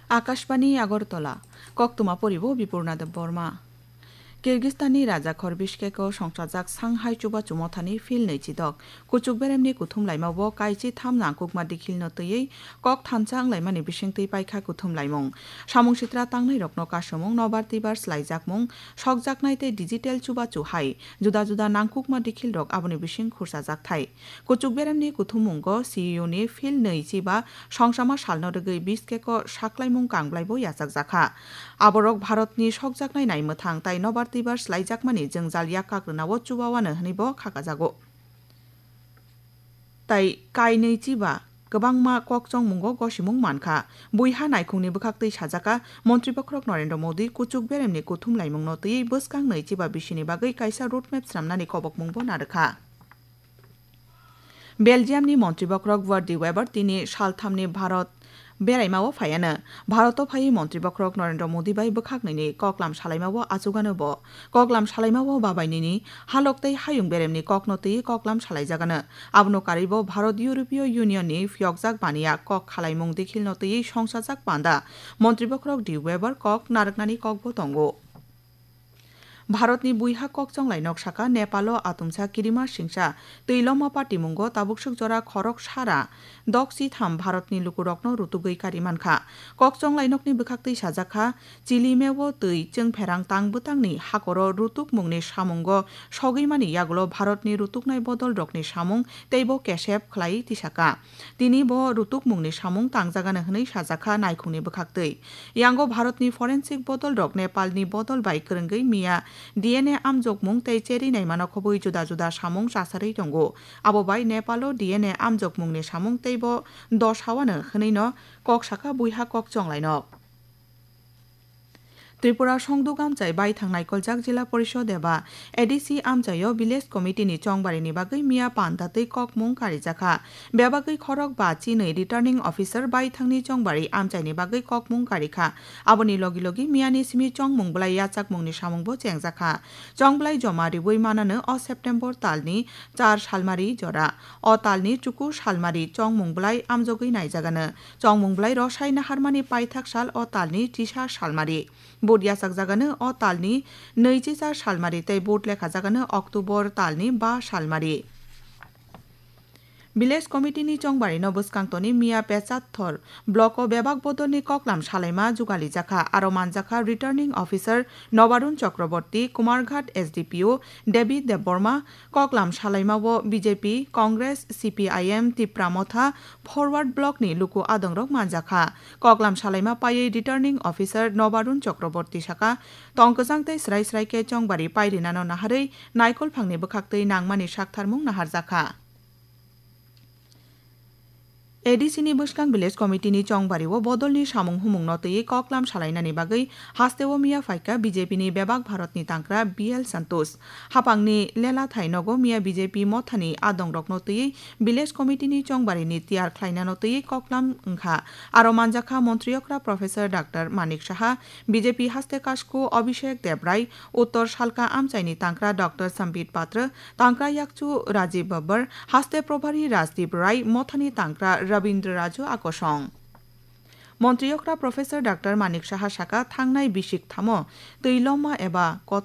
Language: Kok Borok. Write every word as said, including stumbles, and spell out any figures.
Akashbani Agartala, koktwma poribo Bipurna Debbarma. Kyrgyzstanni rajakhor Bishkeko songchajak Shanghai Chubachu Mothani Phil nwi chidok, kuchuk beremni kuthum laimao kaichi tham nangkukma dikhilno twiwi kok thansa wnglaimani bisingtwi paikha kuthum laimung. Samung sitra tangnairokno kasumung, nobar twibar slaijakmung, sokjaknai tei digital chubachu hai juda juda nangkukma dikhilrok aboni bising khurchajak thai. Kuchuk beremni kuthumungo C E O ni Phil nwi chiba songchama salno rwgwi Bishkeko saklaimung kangblaibo yachakjakha. Aborok Bharatni sokjaknai naimwthang tai nobar twibar slaijakmani jwngjal yak kakrwnao chubawano hwnwibo khakajago. Tai kainwi chiba kwbangma kokchongmungo gosimung mankha. Buiha naikhungni bwkhaktwi sajaka, Montri Bokhorok Narendra Modi kuchuk beremni kuthum laimungno twiwi bwskang nwi chiba bisini bagwi kaisa roadmap swnamnani kobokmungbo narwkha. Belgiumni Montri Bokhorok Wout de Wever tini salthamni Bharat beraimao phaiano. Bharoto phaiwi Montri Bokhorok Narendra Modi bai bwkhak nini koklam salaimao achugano bo. Koklam salaimao babai nini halok tei hayung beremni kokno twiwi koklam salaijagano. Abono karwibo Bharat European Union ni phiyokjak baniya kok khalaimung dikhilno twiwi songchajak panda Montri Bokhorok de Wever kok narwknani kokbo tongo. Bharatni buiha kokchonglai nok saka Nepalo atumsa kirima singsa twi loma patimungo tabukswk jora khorok sara doksi tham Bharatni lukurokno rutugwi kari mankha. Kokchonglai nokni bwkhaktwi sajakha, Chilimeo twi chwngpherang tang bwtangni hakoro rutukmungni samungo sogwi mani yagulo Bharatni rutuknai bodolrokni samung teibo kesep khlai tisaka. Tini bo rutukmungni samung tangjagano hwnwi sajakha naikhungni bwkhaktwi. Yango Bharatni forensic bodolrok Nepalni bodol bai kwrwngwi miya D N A amjokmung tei cherwi naimano khobwi juda juda samung chasarwi tongo. Abo bai Nepalo D N A amjokmungni samung teibo dos hawano hwnwino kok saka buiha kokchonglainok. Tripura Songduk Amchai baithang naikoljak Jila Porishod eba A D C amchaio Village Committee ni chongbarini bagwi miya panda twi kokmung karijakha. Bebagwi khorok ba chinwi Returning Officer baithangni chongbari amchaini bagwi kokmung karikha. Aboni logi logi miyani simi chongmung bwlai yachakmungni samungbo chengjakha. Chongbwlai joma riwi manano o September talni char salmari jora. O talni chuku salmari chongmung bwlai amjogwi naijagano. Chongmung bwlai rosai naharmani paithak sal o talni chisa salmari. Vote yachakjagano o talni nwichisa salmari tei vote lekhajagano October talni ba salmari. Village Committee ni chongbarino bwskang toni miya Pechatthor block o bebak bodolni koklam salaima jugalijakha, aro manjakha Returning Officer Nobarun Chakraborty, Kumarghat S D P O David Debbarma, koklam salaimao B J P, Congress, C P I M, Tipra Motha, Forward Block ni luku adongrok manjakha. Koklam salaima paiwi Returning Officer Nobarun Chakraborty saka, tongkwchang tei srai srai khe chongbari pairinano naharwi naikolphangni bwkhaktwi nangmani saktharmung naharjakha. A D C ni bwskang Village Committee ni chongbario bodolni samung humungno twiwi koklam salainani bagwi hasteo miya phaikha B J P ni bebak Bharatni tangkra B L Santosh. Hapangni lela thai nogo miya B J P mothani adongrokno twiwi Village Committee ni chongbarini tiyar khlainano twiwi koklam wngkha. Aro manjakha Montri okra Professor Doctor Manik Saha, B J P haste kasku Abhishek Debrai, Uttor Salka amchaini tangkra Doctor Sambit Patra, tangkra yakchu Rajiv Babbar, haste probhari Rajdeep Rai, mothani tangkra Rabindra Raju akosong. Montri okra Professor Doctor Manik Saha saka thangnai bisik thamo twi loma eba kotor